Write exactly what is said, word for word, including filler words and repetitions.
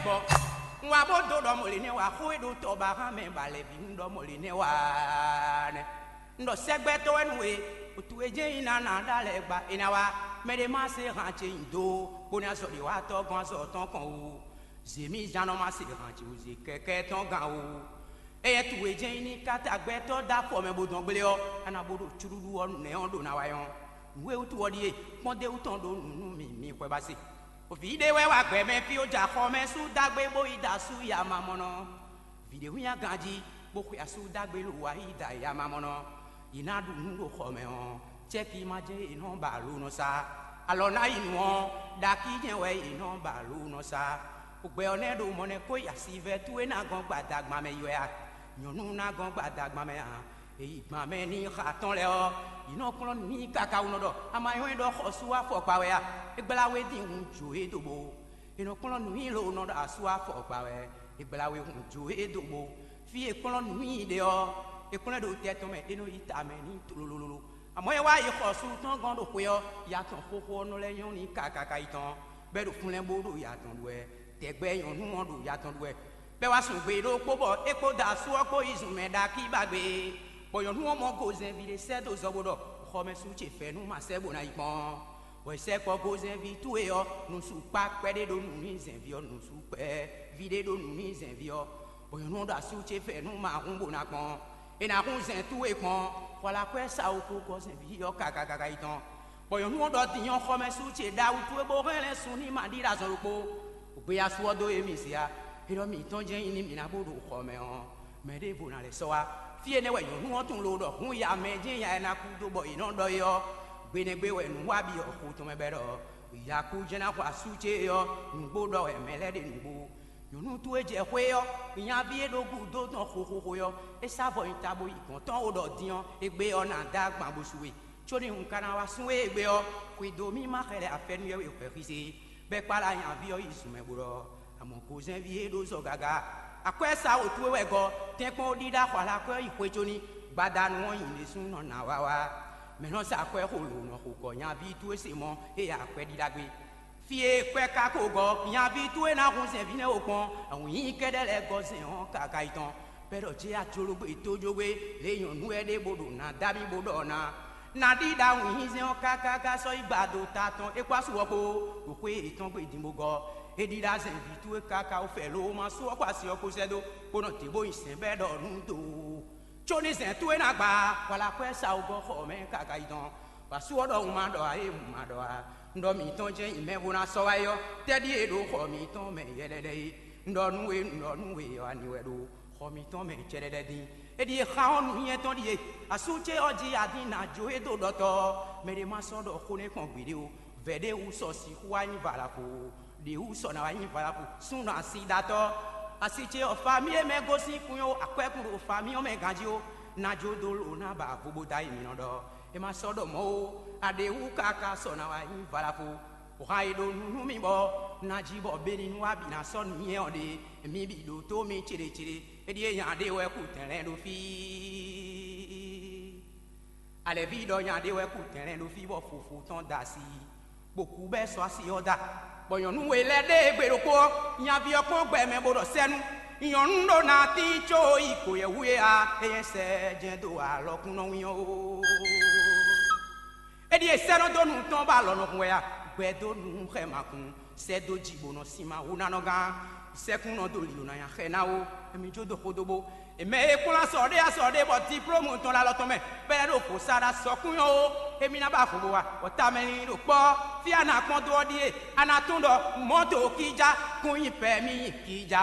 Bɔ un wá bó dó ɖɔ mɔ̌ lě nɛ́ wá xó e ɖo tɔ ba hán mɛ ba lɛ̌ bǐ un ɖɔ mɔ̌ lě nɛ́ wá nɛ́. Un ɖɔ sɛ́gbɛ́tɔ́ wɛ nú we, wǔtu e jɛ́n nyi ná ná ɖó alɛ gba è nǎ wá. Mɛ ɖé ma se han ce nyi do, bó ní azɔ̌ ɖé wá tɔ́ gɔ́n azɔ̌ tɔn kɔn wú. Zě mì zán nɔ ma se han ce wú zě kɛ́kɛ́ tɔn gán wú. Éyɛ́ towe jɛ́n nyí ní káta gbɛtɔ́ dó afɔ mɛ bó dɔn gblé ɔ́, a nǎ bó ɖo cúɖúɖú ɔ́ nɛ́ ɔ́ ɖo ná wá nyɔ́. Nǔ e wútu ɔ́ ɖíe: kpɔ́ndéwú tɔn ɖó nǔ nú mì, mi xwɛ ba se. Vǐ ɖé wɛ wá gbɛ mɛ fí ó jɛ axɔ mɛ sú dó agbé bó yi da asú ya mamɔnɔ. Vǐ ɖé hu nyi aganjí, bó xwe asú dó agbé lo wá yi da ya mamɔnɔ. Yě ná ɖu nǔ ɖo xɔ mɛ ɔ́, cɛ́ki ma jɛ́n yě nɔ ba alo nɔ sá. Alɔ ná yi nǔ ɔ́, ɖakí jɛ́n wɛ yě nɔ ba alo nɔ sá. Gbɛ ɔ́ nɛ́ ɖo mɔ̌ nɛ́ kó yi asivɛ́ towe ná gɔ́n gbadagban mɛ yi wɛ a? Nyɔ̌nu ná gɔ́n gbadagban mɛ ǎ. È yi gban mɛ n'i xa tɔn lɛ́ɛ ɔ́, yě nɔ kplɔ́n nǔ n'i káká wú nɔ ɖɔ: a ma nywɛ́ ɖɔ xɔsú afɔkpa wɛ a? É gbla we dín hun jǒ e dó bó. È nɔ kplɔ́n nǔ n'i lo nɔ ɖɔ asú afɔkpa wɛ. È gbla we hun jǒ e dó bó. Fí e kplɔ́n nǔ n'i ɖe ɔ́, è kplɔ́n ɛ ɖo tɛ tɔn mɛ, é nɔ yi ta mɛ n'i tlololo. Amɔ̌ é wá yi xɔsú tɔn gɔ́n ɖo xwe ɔ́, ya tɔn xóxó ɔ́ nɔ lɛ́ nyɔ́ n'i kákáká yi tɔn, bɔ é ɖo fúnlɛ́n bó ɖo ya tɔn ɖu wɛ. Tɛgbɛ nyɔ̌nu ɔ́ ɖo ya tɔn ɖu wɛ. Bɔ é wá sun gbe ɖokpó bɔ é kpódó asú ɔ́ kpó yi zun mɛ ɖakí ba gbe. Bɔ nyɔ̌nu ɔ́ mɔ gozɛnví ɖé sɛ́ dó zɔ bó ɖɔ: xɔmɛsu ce fɛ̌ nú ma sɛ́ bó ná yi kpɔ́n. Bɔ è sɛkpɔ gozɛnví towe ɔ́, nǔsú kpá kpɛɖé ɖó nǔ n'i zɛnví ɔ́, nǔsú kpɛví ɖé ɖó nǔ n'i zɛnví ɔ́. Bɔ nyɔ̌nu ɔ́ ɖo asú ce fɛ nú ma hun bó ná kpɔ́n. È nǎ hun zɛn towe kpɔ́n, xɔ la kwɛ́ sa wú kú gɔ́ zɛnví ɔ́ kákákáká yi tɔn. Bɔ nyɔ̌nu ɔ́ ɖɔ din ɔ́ xɔmɛsu ce ɖawu towe bó hɛn lɛ́ sun n'i ma ɖi ɖo azɔn ɖokpó. Gbe asú ɔ́ dó émí se a? É ɖɔ mǐtɔn jɛ́n nyí nú mǐ ná bó ɖo xɔ mɛ ɔ́, mɛ ɖěvo ná lɛ́ sɔ́ wá. Fí énɛ́ wɛ nyɔ̌nu ɔ́ tunwun lo ɖɔ hǔn ya mɛ jɛ́n ya e ná kú dó bɔ è nɔ ɖɔ é ɔ́, gbenɛgbé wɛ nǔ wa byɔ́ xo tɔn mɛ bɔ é ɖɔ: Yakú jɛ́n ná xɔ asú ce ɔ́, nǔgbó ɖɔ wɛ mɛ lɛ́ɛ ɖe nǔgbó. Nyɔ̌nu towe jɛ xwé ɔ́, nyaví e ɖo gúdo tɔn xóxóxó ɔ́, é sá avɔ nyi ta bó yi gɔ̌n tɔn ó ɖɔ din ɔ́, égbé ɔ́ ná dó agban bó su we. Có ní un ka ná wá sún we égbé ɔ́, xwedó mì ma xɛ lɛ afɛ́nú yɛ́we hwɛxízé, bɔ é kpá lá nyaví ɔ́ yi zun mɛ bó ɖɔ: Amɔ̌ gozɛ́nví e ɖó zɔ gaga, akwɛ́ sa wǒ towe wɛ gɔ́, tɛ́nkpɔ́n ó ɖíɖá xɔ alakɔ́ yi xwe có ní, gbadanu ɔ́ nyi ɖésú nɔ ná wá wá. Mɛ̌ nɔ sa akwɛ́ xo lǒ nɔ xo gɔ̌ nyaví towe se mɔ̌ e akwɛ́ ɖíɖá gbé? Fí e kwɛ́ ka ko gɔ́, nyaví towe ná hun zɛ̌nví nɛ́ ó kpɔ́n, awǐnnyí kɛ́ɖɛ́ lɛ́ɛ gɔ́ zɛ̌n ɔ́ káká yi tɔn. Bɔ é ɖɔ: Jɛ ajológbé tójógbé, lě e nyɔ̌nu wɛ ɖe bó ɖo nǎ dá mì bó ɖɔ ná. Nǎ ɖíɖá wǐnzɛ́n ɔ́ káká sɔ́ yi gba do ta tɔn é kpó asú ɔ́ kpó, ɖo xwé yětɔn gbe din bó gɔ́. É ɖíɖá zɛ̌nví towe káká wú fɛ lo ma sú ɔ́ kpó asi ɔ́ kpó sɛ́ dó, bó nɔ dě bó nyi sɛ̌n bɔ é ɖɔ nǔ dó. Có ní zɛ̌n towe ná gba, wala kwɛ́ sa wú gɔ́ xɔ mɛ káká yi tɔn. Bɔ asú ɔ́ ɖɔ: Un ma ɖɔ ǎ é, un ma ɖɔ ǎ. Un ɖɔ mǐtɔn jɛ́n nyi mɛ bó ná sɔ́ wá é ɔ́, tɛ́ ɖíe ɖo xɔ mǐtɔn mɛ yɛlɛlɛ é? Un ɖɔ nú we, un ɖɔ nú we ɔ́, ani wɛ ɖo xɔ mǐtɔn mɛ cɛɖɛɖɛ dín. É ɖíe xa ɔ́ nǔnywɛ́ tɔn ɖíe: asú ce ɔ́ jí adín ná jó e dó ɖɔtɔ́ ɔ́, mɛ ɖé ma sɔ́ ɖɔ xó nɛ́ kpɔ́n gbeɖé ó. Vɛ̌ ɖé wú sɔ sixú wá nyí valafo, ɖě wú sɔ ná wá nyí valafo súnnu asidatɔ́. Asi ce ɔ́, famí e mɛ gosín kún ó, akwɛ́kún ɖo famí ɔ́ mɛ ganjí ó, ná jó dó lo ná ba vo bó dó ayi mǐ nɔ ɖɔ. É ma sɔ́ ɖɔ mɔ̌ ó, aɖě wú káká sɔ ná wá nyí valafo. Hǎn e ɖo nu nú mì bɔ ná jí bɔ Beninu wá bǐ ná sɔ́ nǔnywɛ́ ɔ́ ɖe, mi bǐ ɖótó mi céɖécéɖé. É ɖíe nya ɖé wɛ kú tɛnlɛ́n ɖo fí. Alɛ̌ví ɖɔ nya ɖé wɛ kú tɛnlɛ́n ɖo fí bɔ fofo tɔn da asi, bó kú bɔ é sɔ́ asi ɔ́ da. Bɔ nyɔ̌nu we lɛ́ɛ ɖe gbe ɖokpó ɔ́, nyaví ɔ́ kpɔ́n gbɛ mɛ bó ɖɔ sɛ́nú: Nyɔ̌nu ɖó ná tín có yi kǒyɛ́hú é a, é nyɛ sɛ jɛ́n dó alɔkúnnɔwín ɔ́ ó. É ɖíe sɛ́ nɔ dó nu tɔn bɔ alɔ nɔ hun wɛ a? Gbɛ dó nu xɛ ma kun, sɛ́ dó jǐ bó nɔ sin ma hú ná nɔ gán. Sɛ́kún nɔ dó lǐ ná nya xɛ ná ó, émí jó dó xódó bó. Mɛ e kplɔ́n azɔ̌ ɖé azɔ̌ ɖé bɔ diplómu tɔn ɖo alɔ tɔn mɛ, bɔ é ɖo vo sa ɖo azɔ̌kún nyɔ́ ó, émí ná ba vo bó wa, bɔ tamɛ linlin ɖo kpɔ́. Fí a nǎ kpɔ́n dó ɔ́ ɖíe: a nǎ tunwun ɖɔ mɔ̌to kíjá kún nyi pɛ̌mi kíjá.